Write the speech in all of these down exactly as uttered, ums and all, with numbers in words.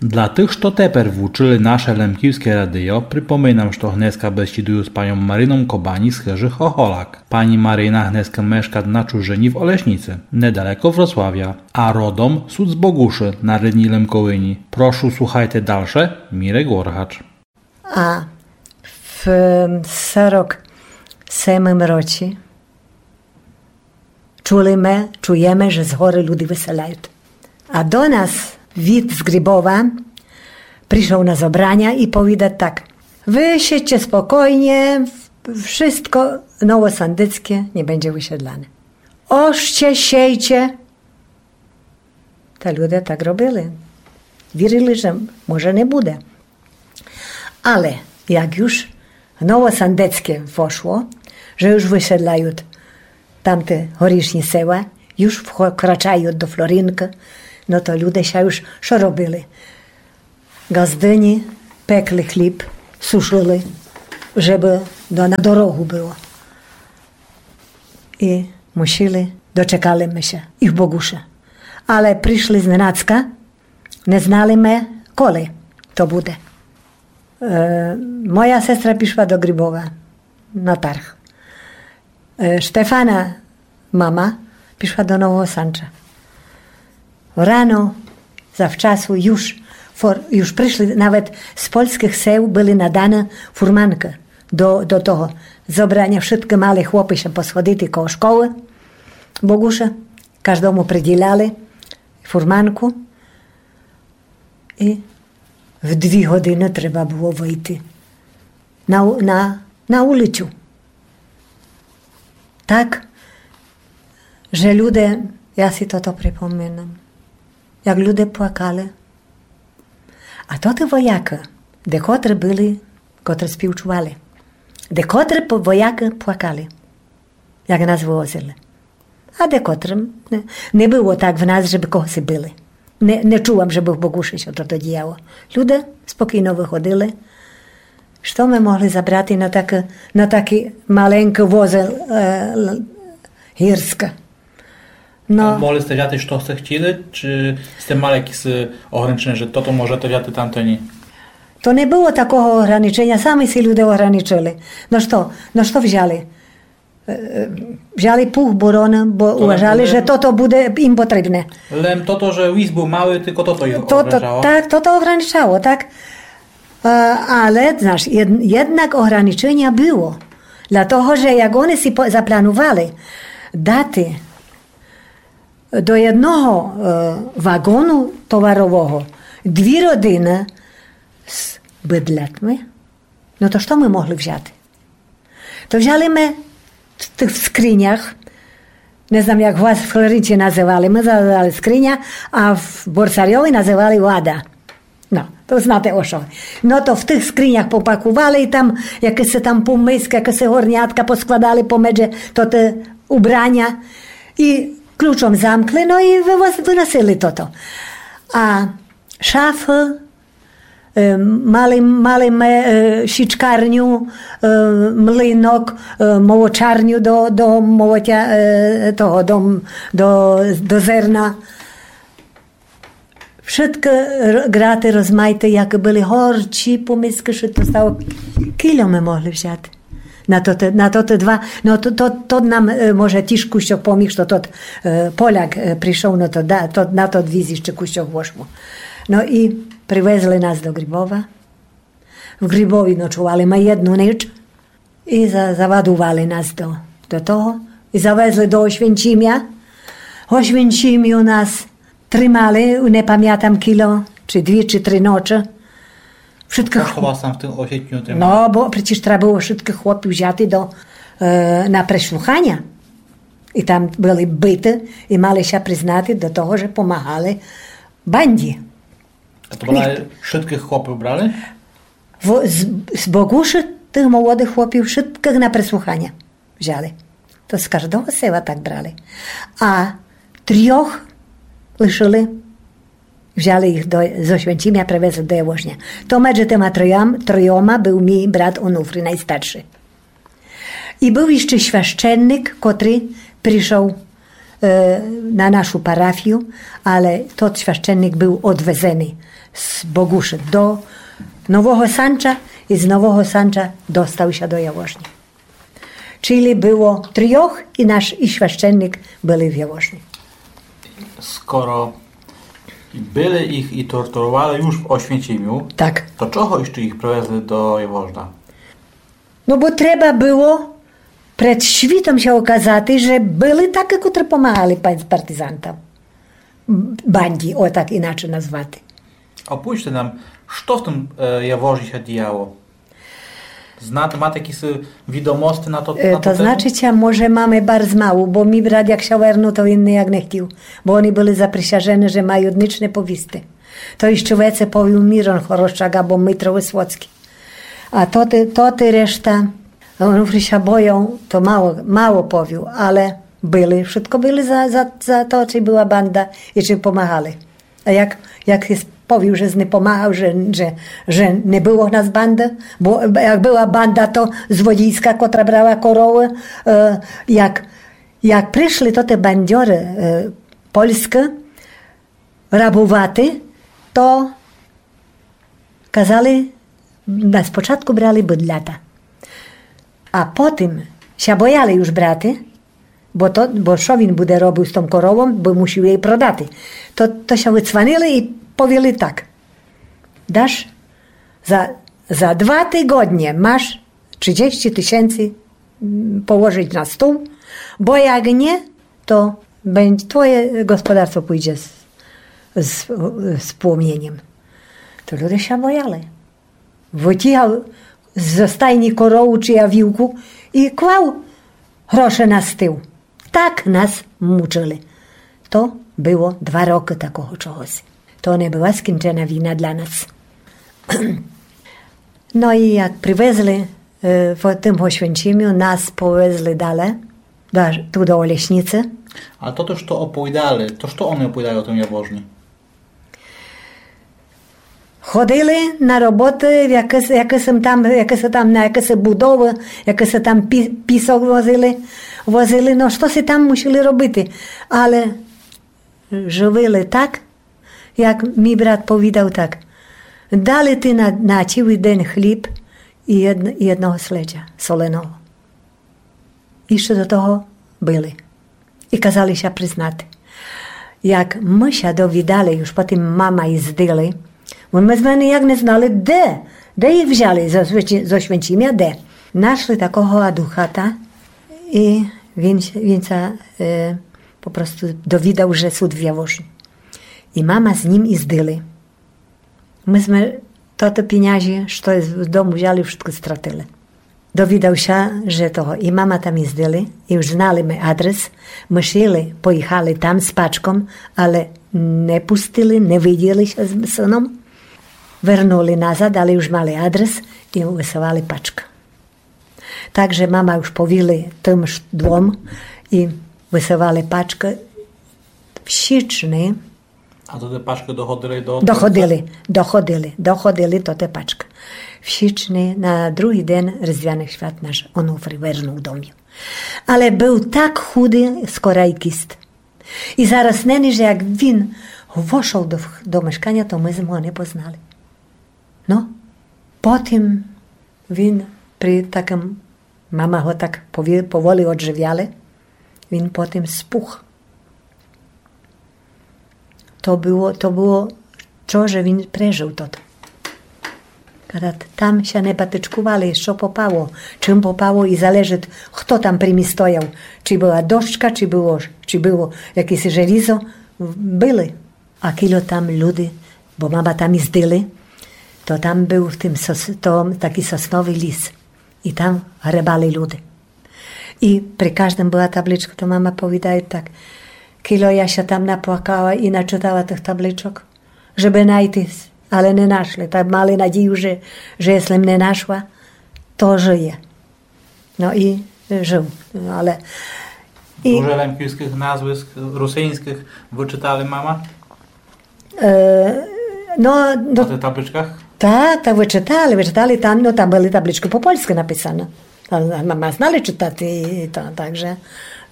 Для тых, што тепер вучыли наше лемківске радио, припоминам, што гнеска бесідую з паньом Марином Кобані з Хыжы Хохолак. Пані Марина гнеска мешкат на чужыні в Олешніци, недалеко Вроцлавя, а родом сут з Богушы на рідній Лемковині. Прошу, слухайте дальше, Мірек Оргач. А в сорок семым році чули мы, чуєме, же з горы люди выселяют. А до нас вид з Грибова пришол на зобраня і повідат так: Вы сідьте спокойні, вшытко Новосандыцке не бенде выселяне. Орте, сійте. Та люде так робили. Вірили, же може не буде. Але як юж Новосандыцке вошло, же юж выселяют тамты горішні села, юж вкрачают до Флоринкы, но то люде ся юж што робили? Ґаздыні, пекли хліб, сушыли, жебы до, на дорогу было. І мусили, дочекали мы ся і в Богушы. Але пришли зненацька, не знали мы, коли то буде. Е, моя сестра пішла до Грибова на тарг. Е, Штефана мама пішла до Нового Санча. Рано, завчасу, юж, фор-, юж пришли, навет з польскых сел были наданы фурманкы до, до того зобраня. Вшыткы мали хлопы ся посходити коло школы Богушы, каждому приділяли фурманку. І в дві годины треба было выйти на у-, на, на улицю. Так, же люде, я си тото припоминам, як люде плакали. А тоты воякы, декотры были, котры співчували, декотры по-, воякы плакали, як нас вывозили. А декотрым не, не было так в нас, жебы когоси били. Не, не чула м, жебы в Богушы ся тото діяло. Люде спокійно выходили. Што мы могли забрати на такы, на такы маленькы возы, е, л-, гірскы? Но. А могли сте взяти, што сте хотіли, чи сте мали якісь, е, ограниченя, же тото можете взяти, тамто ні? То не было такого ограниченя, самы си люде ограничыли. Но што, но што взяли? Е, е, взяли пух, бороны, бо уважали, же тото буде ім потрібне. Лем тото, же віз быв малый, тілько тото іх ограничало. Так, тото ограничало, так. Е, але, знаш, єд-, єднак ограниченя было. Для того, же як они си по-, запланували дати до єдного, е, ваґону товарового дві родины з быдлятми, но то што мы могли взяти? То взяли мы в тых скринях, не знам, як у вас в Флоринці называли, мы называли скриня, а в Борсарьови называли лада. Но, то знате о што. Но то в тых скринях попакували і там якысі там помиски, якысі горнятка поскладали помедже тоты убраня. І ключом замкли, но і вывоз-, выносили тото. А шафы, е, мали, мали мы, е, січкарню, е, млинок, е, молочарню до, до молотя, е, того, до м-, до, до зерна. Вшыткы р-, граты розмайты, якы были горчі, помиски, што то стало. Кільо мы могли взяти? На то, на то, то два, но то, то, то нам, е, може, тіж кусьок поміг, што тот, е, Поляк, е, пришол, но то да, то, на то віз іщы кусьок вошло. Но і привезли нас до Грибова. В Грибові ночували мы єдну ніч. І за-, завадували нас до, до того. І завезли до Ошвенчімя. В Ошвенчімю нас тримали, не памятам кільо, ци дві, ци три ночы. Вшыткых... Што вас там в тым Ошвенчімю тримали? Но, бо прецеж треба было вшыткых хлопів взяти до, е, на преслуханя. І там были биты, і мали ся признати до того, же помагали банді. А то была, вшыткых хлопів брали? В-, з, з Богушы тых молодых хлопів вшыткых на преслуханя взяли. То з каждого села так брали. А трьох лишыли, взяли іх до, з Ошвенчімя, привезли до Явожня. То меджи тыма троям-, тройома был мій брат Онуфрій, найстаршый. І был іщы священник, котрый пришол, е, на нашу парафію, але тот священник быв одвезеный з Богуши до Нового Санча і з Нового Санча достав ся до Явожні. Чили было трьох і наш, і священник были в Явожні. Скоро били їх і тортуровали юж в Освенцимю, так, то чого іщы їх привезли до Явожна? Но бо треба было пред світом ся указати, же были такы, котры помагали пан-, партизантам. Банді, о, так іначе назвати. Опиште нам, што в тым, е, Явожні ся діяло? Знате, мате якісь відомости на то, е, на то тему? То значыт, може, маме барз мало, бо мій брат, як ся вернув, то він ніяк не хтів, бо они были заприсяжены, же мають нич не повісти. То іщы веце повів Мірон Хорошак або Митро Высоцькый. А тоты, тоты решта, Онуфрій ся бояв, то мало, мало повів, але были, вшытко были за, за, за то, чи была банда і чи помагали. А як, як єс повів, же єс не помагав, же, же, же не было в нас банды, бо як была банда, то Зводійска, котра брала коровы, е, як, як пришли тоты бандьоры, е, польскы, рабувати, то казали, на спочатку брали быдлята. А потым ся бояли юж брати, бо то, бо што він буде робив з том коровом, бо мусів єй продати. То, то ся выцванили і повіли так: Даш, за, за два тыґоднє маш тридцять тисяци, м, положыт на стол, бо як нє, то бен-, твоє господарство пуйдзе з, з, з пломнєньом. То люде ся бояли. Вытягав зо стайні корову чи вівку і клав гроше на стол. Так нас мучыли. То было два рокы такого чогоси. То не была скінчена війна для нас. Но і як привезли, е, в тым Освенцимю, нас повезли дале, да, ту до Олешниці. А тото, што оповідали, то што они оповідали о тым Явожні? Ходили на роботы, в якысь, якысь там, якысь там, на якысь будовы, якысь там пі-, пісок возили, возили, но, што си там мусили робити. Але живили так, як мій брат повідав так: дали ти на, на цілый день хліб і єдн-, і єдного следя соленого. Іщы до того были. І казали ся признати. Як мы ся довідали, юж потым мама їздили, бо мы зме ніяк не знали, де, де їх взяли, зо Свенці-, зо Свенцімя, де. Нашли такого адвоката, і він, він ся, е, попросту довідав, же сут в Явожні. І мама з ним їздили. Мы зме тото пінязі, што з дому взяли, вшытко стратили. Довідав ся, же того, і мама там їздили, і уж знали мы адрес, мы шли, поїхали там з пачком, але не пустили, не виділи ся з сыном. Вернули назад, але уж мали адрес і высылали пачкы. Так же мама уж повіли тым ш-, двом і высылали пачкы в січни. А то тоты пачкы доходили до... Доходили, доходили, доходили то тоты пачкы. В січни на другый день Різдвяных свят наш Онуфрій вернув домів. Але был так худый, скорай кіст. І зарасненый, же як він вошов до, до мешканя, то мы зме го не познали. Но, потым він при такым, мама го так пові-, поволі одживяли, він потым спух. То было, то было то, же він прежыл тото. Кадат там ся не батичкували, што попало, чым попало і залежыт, хто там при ні стояв, чи была дошка, чи было, чи было якесь желізо, были. А кілько там люди, бо мама там їздили, то там был в тым сос-, то такій сосновый ліс. І там гребали люди. І при каждым была табличка, то мама повідає так: кілько я ся там наплакала і начытала тых табличок, жебы найти, але не нашли. Так мали надію, же, же єсли м не нашла, то жыє. Но і, е, жыл. Но, але і... Дуже лемківскых назвиск русиньскых вычытали мама? Е, но, но... На тых табличках? Та, та вычытали, вычытали там, но там были табличкы по польскы написаны. А, а мама знали чытати і то, так же,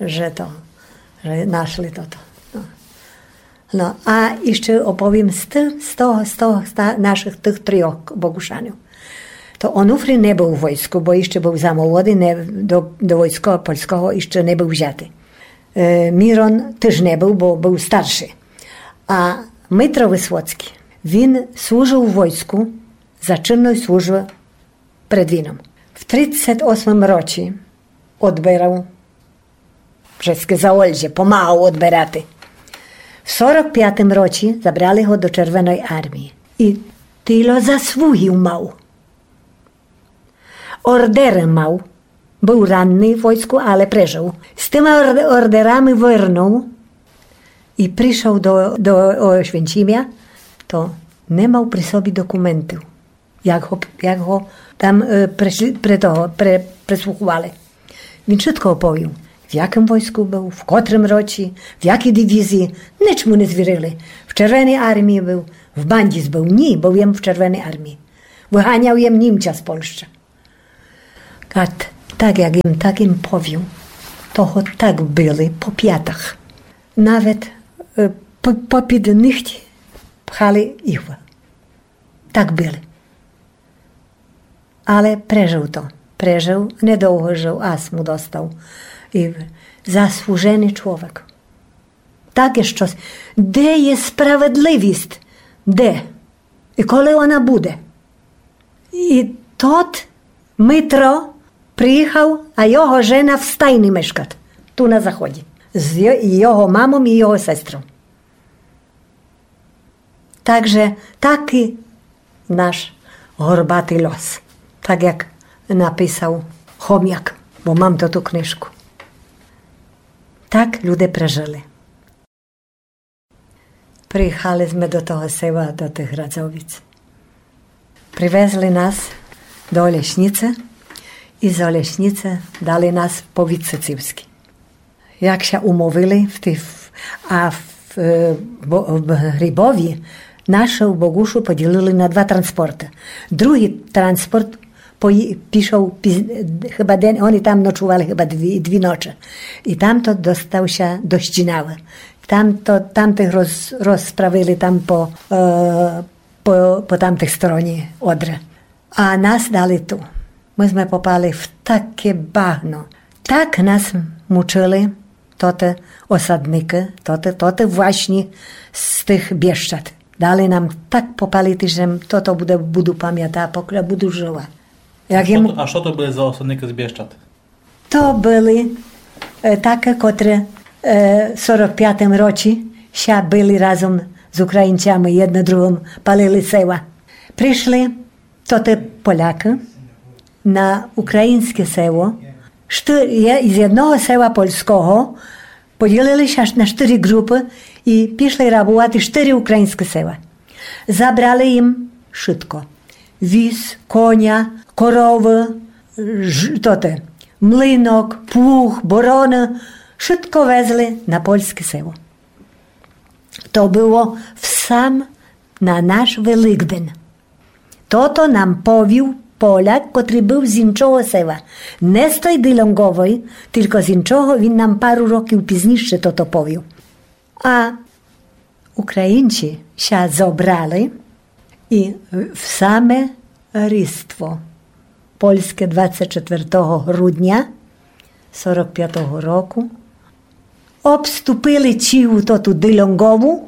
же то. Же нашли тото. Но. Но, а іщы оповім з тых, з того, з того, з та-, нашых тых трьох Богушанів. То Онуфрій не был у войску, бо іщы был за молодый, не, до, до войска польского іщы не был взятый. Е, Мірон тыж не был, бо был старшый. А Митро Высоцькій, він служыв у войску за чынной службы пред війном. В тридцет осмым році одберав Вшыткы за Ольже помагав одберати. В сорок пятым році забрали го до Червеной армії. І тільо заслугів мав. Ордеры мав. Был ранный в войску, але прежыл. З тыма орд-, ордерами вернув і пришов до, до Оświęcimia, то не мав при собі документів. Як го, як го там, е, преслі-, пре того, пре-, преслуховали. Він вшытко оповів, в якым войску был, в котрым році, в якій дивізії. Нич му не звірили. В Червеній армії был, в банді был. Ні, был єм в Червеній армії. Выганяв єм Німця з Польщы. А т-, так як єм, так єм повів, того так били по пятах. Навет, е, по-, попід нігть пхали іглы. Так били. Але прежыл то. Прежыл, недовго жыл, астму достав. І заслуженый чловек. Таке штось. Де є справедливість? Де? І коли она буде? І тот Митро приїхав, а його жена в стайні мешкат, ту на заході. З й-, і його мамом, і його сестром. Так же такій наш горбатый льос, так як написав Хомяк, бо мам то ту книжку. Так люде прежыли. Приїхали сме до того села, до тых Градзовіц. Привезли нас до Олешніци і з Олешніци дали нас в повіт Сыцівскій. Як ся умовили в тій, в-, а в, е, Бо-, в Грибові нашого Богушу поділили на два транспорты. Другый транспорт пої-, пішов піз-, хыба ден, они там ночували хыба дві, дві ночы. І там то достав ся до Щінавы. Там то, там тых роз-, розправили там по, е, по, по тамтых стороні Одры. А нас дали ту. Мы сме попали в таке багно. Так нас мучыли тоты осадникы, тоты, тоты власні з тых Бєщад. Дали нам так попалити, же м-, тото буде, буду памятати, покля буду жыла. Як А што єм то, а што то были за осадникы з Бєщад? То были, е, такы, котры, е, в сорок пятым році ся били разом з Українцями, єдны другым палили села. Пришли тоты Полякы на україньске село. Шты-, є-, з єдного села польского поділили ся на штыри ґрупы і пішли рабувати штыри україньскы села. Забрали ім вшытко. Віз, коня, коровы, ж-, тоты, млинок, плуг, бороны, вшытко везли на польске село. То было в сам на наш Великден. Тото нам повів Поляк, котрый был з іншого села. Не з той Дылянговой, тілько з іншого, він нам пару років пізніше тото повів. А Українці ся зобрали і в саме Різдво польске двадцять четвертого грудня сорок пятого року обступили цілу тоту Дылянгову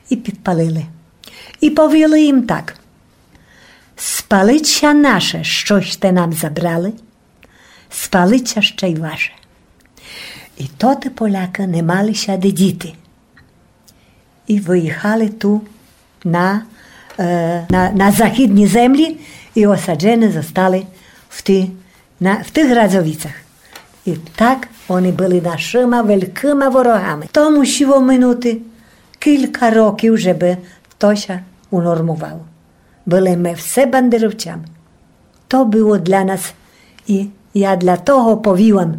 і підпалили. І повіли ім так: спалить ся наше, што сьте нам забрали, спалить ся ще й ваше. І тоты Полякы не мали ся де діти. І выїхали ту на, е, на, на західні землі і осаджены зостали в ти-, на, в тых Градзовіцях. І так они были нашыма великыма ворогами. То мусіло минути кілька років, жебы то ся унормувало. Были мы все бандеровцями. То было для нас, і я для того повіла,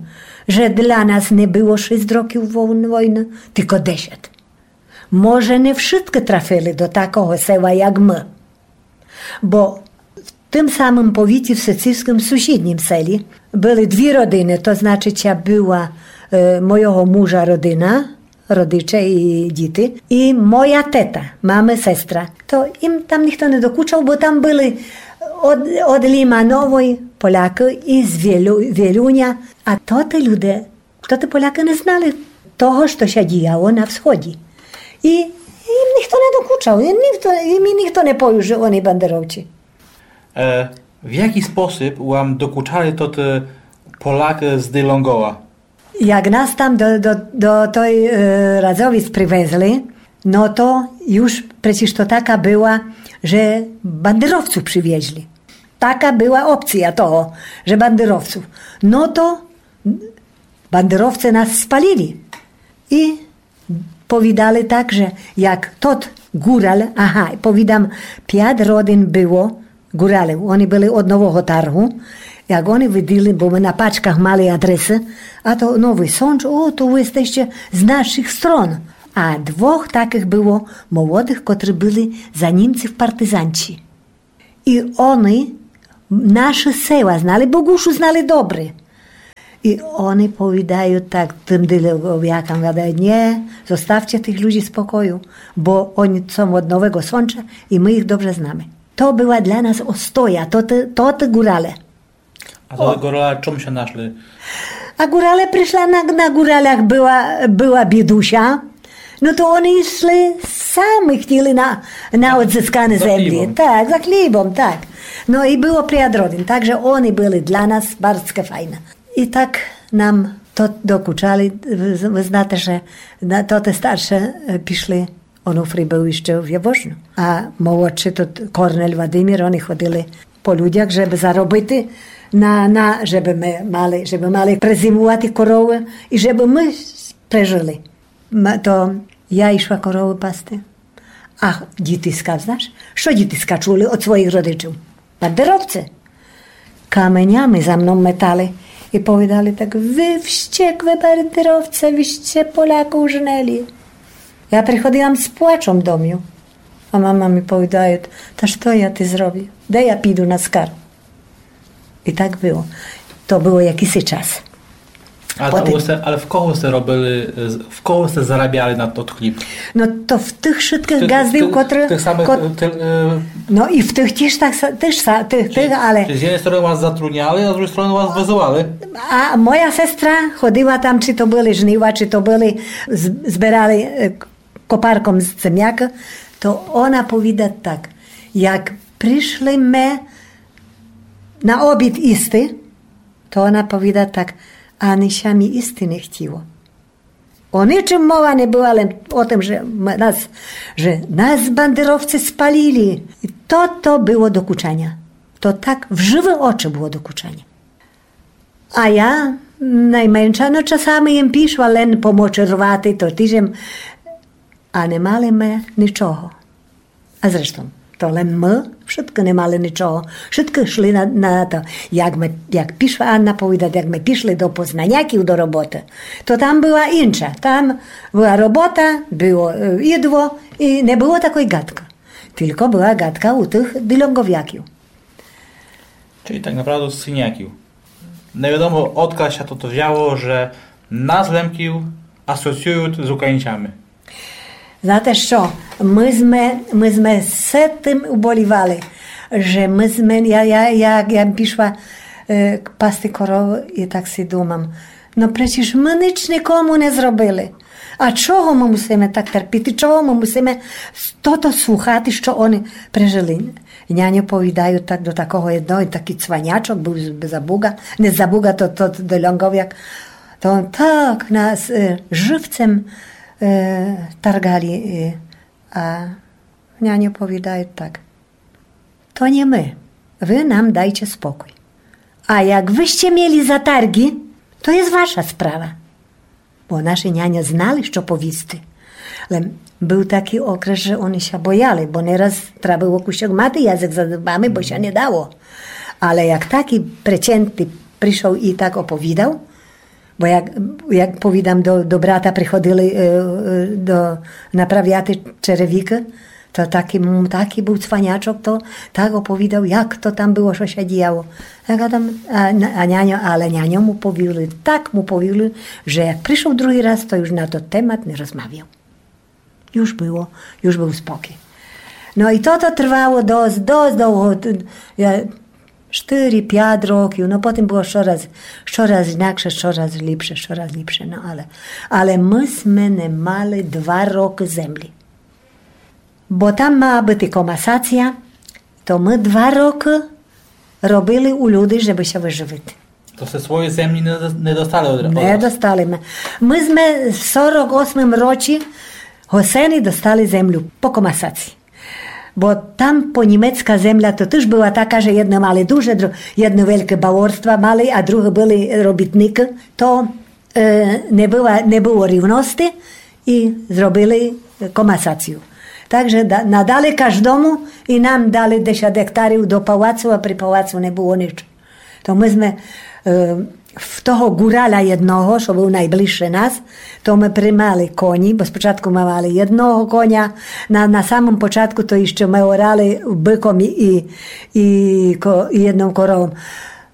же для нас не было шість років войн-, войны, тілько десять. Може, не вшыткы трафили до такого села, як мы. Бо в тым самым повіті, в Сыцівскым сусіднім селі, были дві родины, то значить, ся была, е, мойого мужа родина, родиче і діти, і моя тета, мамы сестра. То їм там ніхто не докучав, бо там были од, од Лімановой Полякы і з Вілю, Вілюня. А тоты люде, тоты Полякы не знали того, што ся діяло на всході. І їм ніхто не докучав, і ніхто, і мі ніхто не повів, же они бандеровці. Е, в якій спосіб вам докучали тоты Полякы з Дилонгова? Як нас там до, до, до той, е, Радзовіц привезли, но то юж преціж то така была, же бандеровцув привезли. Така была опція того, же бандеровцув. Но то бандеровци нас спалили. І повідали так, же як тот Гураль, ага, повідам, пят родин было Гуралів, они были од Нового Таргу, як они виділи, бо мы на пачках мали адресy, а то Новый Сондж, о, то вы єстеще з нашых строн. А двох такых было молодых, котры были за Німців партизанці. І они нашы села знали, бо Гушу знали добрі. І они повідают так тым Дилонгоякам, гадают: „Ні, зоставте тых людзі спокою, бо они сом од Нового Сонча і мы їх добрі знаме.“ То была для нас остоя, то ты, то ты Гурале. А то Гурале чом ся нашли? А Гурале пришла на, на Гуралях была, была бідуся, но то они йшли, самы хтіли на, на одзысканы землі. Так, за хлібом, так. Но і было пят родин, так же они были для нас барз файны. І так нам то докучали, вы, вы знате, же на, то тоты старше, е, пішли. Онуфрій был іщы в Явожню. А молодшый тот Корнель Владимир, они ходили по людях, жебы заробити на, на, жебы мы мали, жебы мали презимувати коровы і жебы мы прежыли. М, то я ішла коровы пасти. А дітиска, знаш, што дітиска чули од своіх родичів? Бандеровци. Каменями за мном метали і повідали так: „Вы вщекли бандеровця, вы ще Поляків женели.“ Я приходила з плачом домів. А мама мі повідає: „Та што я ти зробю? Де я піду на скару?“ І так было. То было якысь час. А то у вас, але в кого сте робили, е, з-, в кого сте зарабяли на тот хліб? Но то в тых вшыткых ґаздів, котры, тых самых, кот-, е, тых, е, но і в тых тіж так са-, тыж са-, тых, тых, але... З єдной стороны вас затрудняли, а з другой стороны вас вызывали. А моя сестра ходила там, ци то были жнива, ци то были, з-, зберали, е, к-, копарком з земякы, то она повіда так: як пришли мы на обід їсти, то она повіда так: „Ани ся мі їсти не хтіло.“ О ничым мова не была, лем о тым, же м-, нас, же нас бандеровци спалили. І то, то было докучаня. То так в жывы очы было докучаня. А я найменша, но, часами єм пішла лен помочерувати, то тіж єм, а не мали мы ничого. А зрештом, то лем мы, вшыткы не мали ничого. Вшыткы йшли на, на то. Як мы, як пішла Анна повідати, як мы пішли до Познаняків до роботы, то там была інша. Там была робота, было, е, їдло і не было такой ґадкы. Тілько была ґадка у тых Дилонгояків. Чили так направду з Синяків. Невідомо, одкаль ся тото взяло, же нас, Лемків, асоціюют з Українцями. Знате што, мы зме, мы зме з тым уболівали, же мы зме, я, я, я, я пішла, е, пасти коровы і так си думам: „Но прецеж мы нич никому не зробили. А чого мы мусиме так терпіти? Чого мы мусиме тото слухати, што они прежыли?“ Няньо повідают так до такого єдного, такій цванячок был з-, за Буга, не за Буга, то, то, то Дилонговяк. То он так нас, е, живцем, е, таргали, е, а няньо повідают так: „То не мы, вы нам дайте спокой. А як вы сте міли затарґы, то єст ваша справа.“ Бо нашы няньо знали, што повісти. Лем был такій окрес, же они ся бояли, бо не раз треба было кусьок мати язык за зубами, бо ся не дало. Але як такій прецентный пришол і так оповідал, бо як, як повідам, до, до брата приходили, е, е, до, направяти черевікы, То такій, м, такій быв цванячок, то так оповідав, як то там было, што ся діяло. Я гадам, а, на-, а няньо, але няньо му повіли, так му повіли, же як пришол другій раз, то юж на тот темат не розмавял. Юж было, юж быв спокій. Но і тото трвало досц, досц довго. Т-, я, штыри, пят років, но потім было штораз, штораз інакше, штораз ліпше, штораз ліпше, но але, але мы сме не мали два рокы землі. Бо там мала быти комасація, то мы два рокы робили у люди, жебы ся выжывити. То сте свої землі не, до- не достали од, од Не достали мы. Мы сме в сорок осмым році госени достали землю по комасації. Бо там понімецка земля то тыж была така, же єдны мали дуже, дру- єдны великі баворства мали, а другы были робітникы. То е, не было, не было рівности і зробили комасацію. Так же да- надали каждому і нам дали десят гектарів до палацу, а при палацу не было нич. То мы сме, е, в того ґураля єдного, што быв найближше нас, то мы примали коні, бо спочатку мы мали єдного коня, на, на самым початку то іщы мы орали быком і, і, і, ко- і єдным коровом.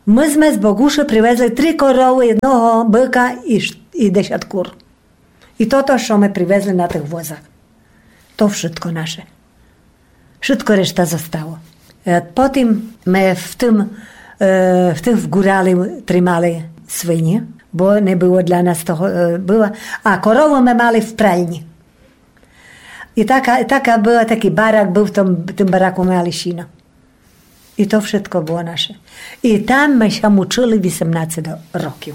Мы сме з Богушы привезли три коровы, єдного быка і, ш- і десят кур. І тото, што мы привезли на тых возах. То вшытко наше. Вшытко решта зостало. Е, Потім мы в тым, е, в тых в ґурали тримали свині, бо не было для нас того, е, было. А корову мы мали в пральні. І така, така была, такій барак быв, в тым, тым бараку мы мали сіно. І то вшытко было наше. І там мы ся мучыли вісемнадцет років.